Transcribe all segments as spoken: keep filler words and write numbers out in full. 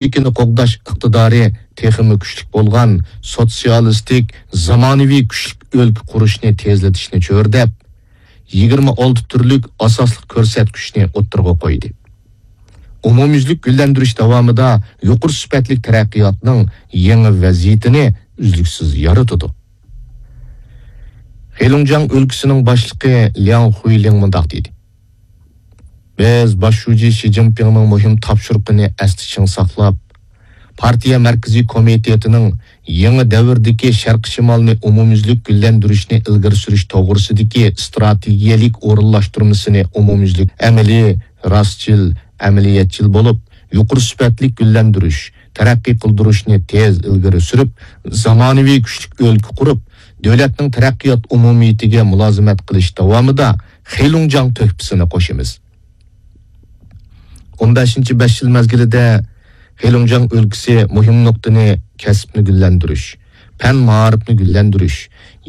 ئىگىلىكىنى قوغداش ئىقتىدارى تېخىمۇ كۈچلۈك بولغان سوتسىيالىستىك زامانىۋى كۈچلۈك ئۆلكە قۇرۇشنى تېزلىتىشنى چۆرىدەپ، يىگىرمە ئالتە تۈرلۈك ئاساسلىق كۆرسەتكۈچنى ئوتتۇرىغا قويدى. ئومۇميۈزلۈك گۈللەندۈرۈش داۋامىدا يۇقىرى سۈپەتلىك تەرەققىياتنىڭ يېڭى ۋەزىيىتىنى ئۈزلۈكسىز يارىتىدۇ. خېلۇڭجياڭ ئۆلكىسىنىڭ باشلىقى لياڭ خۇيلىڭ مۇنداق دېدى: بىز باش شۇجى شى جىنپىڭنىڭ مۇھىم تاپشۇرۇقىنى ئەستە چىڭ ساقلاپ، پارتىيە مەركىزىي كومىتېتىنىڭ يېڭى دەۋردىكى شەرقىي شىمالنى ئومۇميۈزلۈك گۈللەندۈرۈشنى ئىلگىرى سۈرۈش توغرىسىدىكى ئىستراتېگىيەلىك ئورۇنلاشتۇرمىسىنى ئومۇميۈزلۈك ئەمەلىي، راستچىل، ئەمەلىيەتچىل بولۇپ، يۇقىرى سۈپەتلىك گۈللەندۈرۈش، تەرەققىي قىلدۇرۇشنى تېز ئىلگىرى سۈرۈپ، زامانىۋى كۈچلۈك ئۆلكە قۇرۇپ، دۆلەتنىڭ تەرەققىيات ئومۇمىيىتىگە مۇلازىمەت قىلىش داۋامىدا خېلۇڭجياڭ تۆھپىسىنى قوشىمىز. ئون بەشىنچى بەش يىل مەزگىلىدە خېلۇڭجياڭ ئۆلكىسى مۇھىم نۇقتىنى كەسىپنى گۈللەندۈرۈش، پەن مائارىپنى گۈللەندۈرۈش،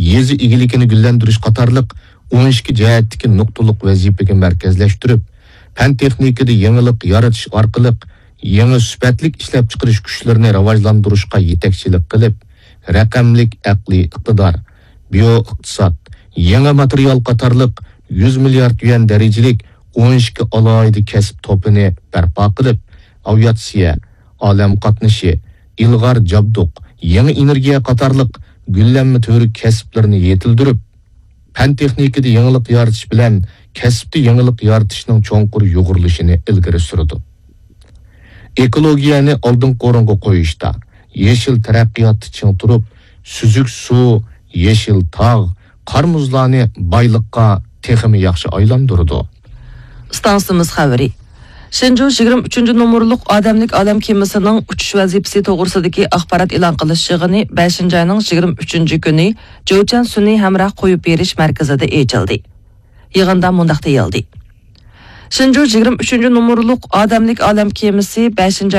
يېزا ئىگىلىكىنى گۈللەندۈرۈش قاتارلىق ئون ئىككى جەھەتتىكى نۇقتىلىق ۋەزىپىگە مەركەزلەشتۈرۈپ، پەن تېخنىكىدا يېڭىلىق يارىتىش ئارقىلىق يېڭى سۈپەتلىك ئىشلەپچىقىرىش كۈچلىرىنى راۋاجلاندۇرۇشقا يېتەكچىلىك قىلىپ، رەقەملىك ئەقلىي ئىقتىدار، بىيو ئىقتىساد، يېڭى ماتېرىيال قاتارلىق يۈز مىليارد يۈەن دەرىجىلىك ئون ئىككى ئالاھىدە كەسىپ توپىنى بەرپا قىلىپ، ئاۋىئاتسىيە، ئالەم قاتنىشى، ئىلغار جابدۇق، يېڭى ئېنېرگىيە قاتارلىق گۈللەنمە تۈۋرۈك كەسىپلىرىنى يېتىلدۈرۈپ، پەن تېخنىكىدا يېڭىلىق يارىتىش بىلەن كەسىپتە يېڭىلىق يارىتىشنىڭ چوڭقۇر يۇغۇرۇلۇشىنى ئىلگىرى سۈرىدۇ. ئېكولوگىيەنى ئالدىنقى ئورۇنغا قويۇشتا، يېشىل تەرەققىياتتا چىڭ تۇرۇپ، سۈزۈك سۇ، يېشىل تاغ، قار مۇزلارنى بايلىققا تېخىمۇ ياخشى ئايلاندۇرىدۇ. ئىستانسىمىز خەۋىرى. شېنجۇ يىگىرمە ئۈچىنچى نومۇرلۇق ئادەملىك ئالەم كېمىسىنىڭ ئۇچۇش ۋەزىپىسى توغرىسىدىكى ئاخبارات ئېلان قىلىش يىغىنى بەشىنچى ئاينىڭ يىگىرمە ئۈچىنچى كۈنى جوچيەن سۈنئىي ھەمراھ قويۇپ بېرىش مەركىزىدە ئېچىلدى. يىغىندا مۇنداق دېيىلدى: شېنجۇ يىگىرمە ئۈچىنچى نومۇرلۇق ئادەملىك ئالەم كېمىسى بەشىنچى